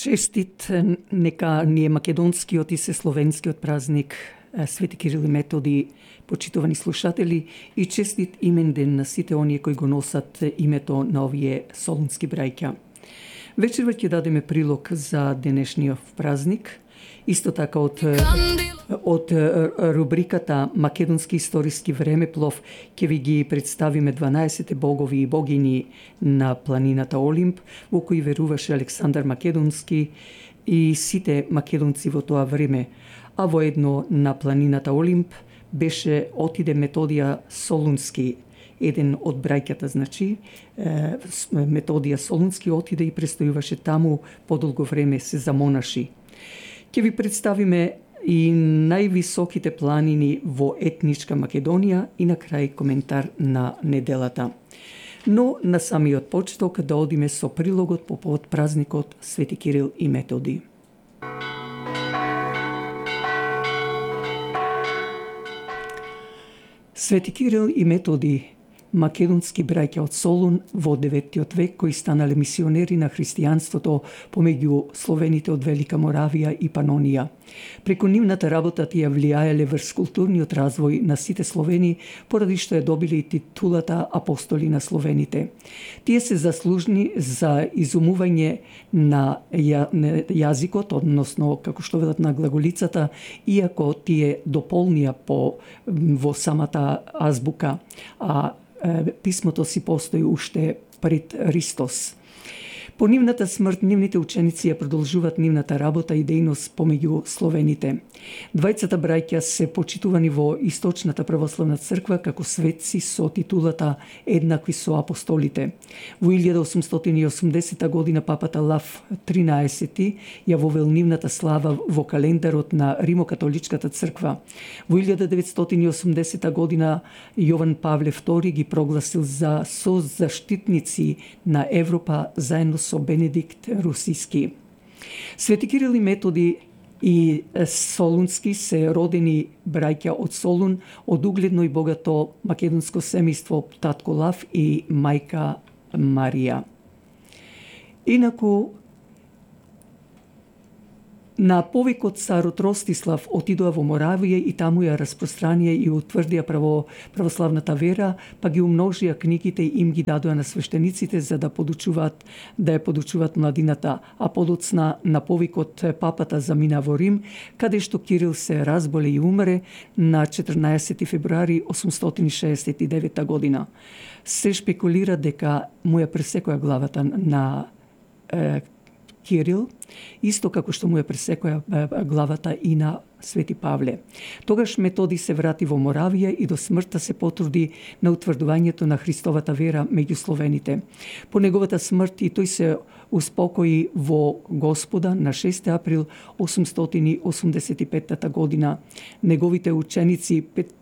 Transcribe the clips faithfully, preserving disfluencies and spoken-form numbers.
Честит нека ни е македонскиот и сесловенскиот празник Свети Кирил и Методи, почитувани слушатели, и честит имен ден на сите оние кои го носат името на овие солунски браќа. Вечерва ќе дадеме прилог за денешниот празник, исто така од од рубриката Македонски историски времеплов ќе ви ги представиме дванаесет богови и богини на планината Олимп, во кои веруваше Александар Македонски и сите македонци во тоа време. А воедно на планината Олимп беше отиде Методија Солунски, еден од браќата, значи, Методија Солунски отиде и престојуваше таму подолго време, се замонаши. Ќе ви представиме и највисоките планини во етничка Македонија и на крај коментар на неделата. Но на самиот почеток да одиме со прилогот по повод празникот Свети Кирил и Методи. Свети Кирил и Методи, македонски браќа од Солун во деветиот век, кои станале мисионери на христијанството помеѓу словените од Велика Моравија и Панонија. Преку нивната работа тие влијаеле врз културниот развој на сите словени, поради што ја добиле и титулата апостоли на словените. Тие се заслужни за изумување на ја, јазикот, односно, како што велат, на глаголицата, иако тие дополнија по во самата азбука, а писмото си постои уште пред Христос. По нивната смрт, нивните ученици ја продолжуваат нивната работа и дејност помеѓу словените. Двајцата браќа се почитувани во Источната православна црква како светци со титулата еднакви со апостолите. Во илјада осумстотини и осумдесета година папата Лав тринаесети ја вовел нивната слава во календарот на Римокатоличката црква. Во илјада деветстотини и осумдесета година Јован Павле втори ги прогласил за созаштитници на Европа заедно со Бенедикт Русиски. Свети Кирил и Методи и Солунски се родени браќа од Солун, од угледно и богато македонско семејство татко Лав и мајка Марија. Инаку, на повикот царот Ростислав отидоа во Моравија и таму ја распространија и утврдија право, православната вера, па ги умножија книгите и им ги дадоа на свештениците за да подучуваат, да ја подучуваат младината, а подоцна на повикот папата замина во Рим, каде што Кирил се разболе и умре на четрнаесети февруари осумстотини шеесет и девета година. Се шпекулира дека му ја пресекоја главата на е, Кирил, исто како што му ја пресекоја главата и на Свети Павле. Тогаш Методи се врати во Моравија и до смртта се потруди на утврдувањето на Христовата вера меѓу словените. По неговата смрт и тој се успокои во Господа на шести април осумстотини осумдесет и петата година. Неговите ученици пет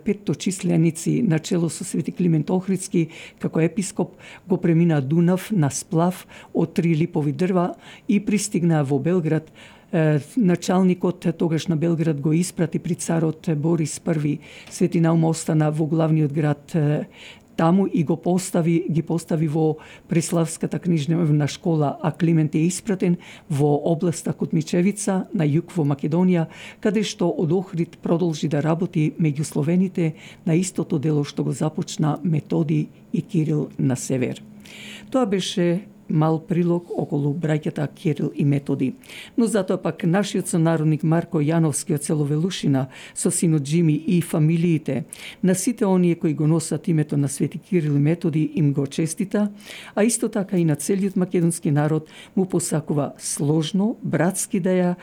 петточисленици на чело со Свети Климент Охридски како епископ го премина Дунав на сплав од три липови дрва и пристигнаа во Белград. Началникот тогаш на Белград го испрати при царот Борис Први. Свети Наум остана во главниот град таму и го постави, ги постави во Преславската книжевна школа, а Климент е испратен во областа Кутмичевица на југ во Македонија, каде што од Охрид продолжи да работи меѓу словените на истото дело што го започна Методи и Кирил на север. Тоа беше мал прилог околу браќата Кирил и Методи. Но затоа пак нашиот сонародник Марко Јановски од село Велушина со синот Джими и фамилиите на сите оние кои го носат името на Свети Кирил и Методи им го честита, а исто така и на целиот македонски народ му посакува сложно, братски да ја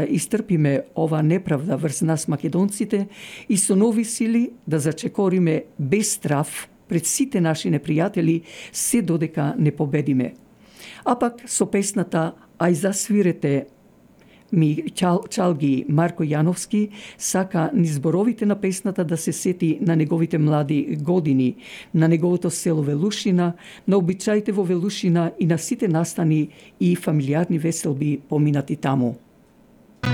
истрпиме ова неправда врз нас македонците и со нови сили да зачекориме без страв пред сите наши непријатели, се додека не победиме. А пак со песната "Ај засвирете ми чал, чалги" Марко Јановски сака низ зборовите на песната да се сети на неговите млади години, на неговото село Велушина, на обичаите во Велушина и на сите настани и фамилиарни веселби поминати таму.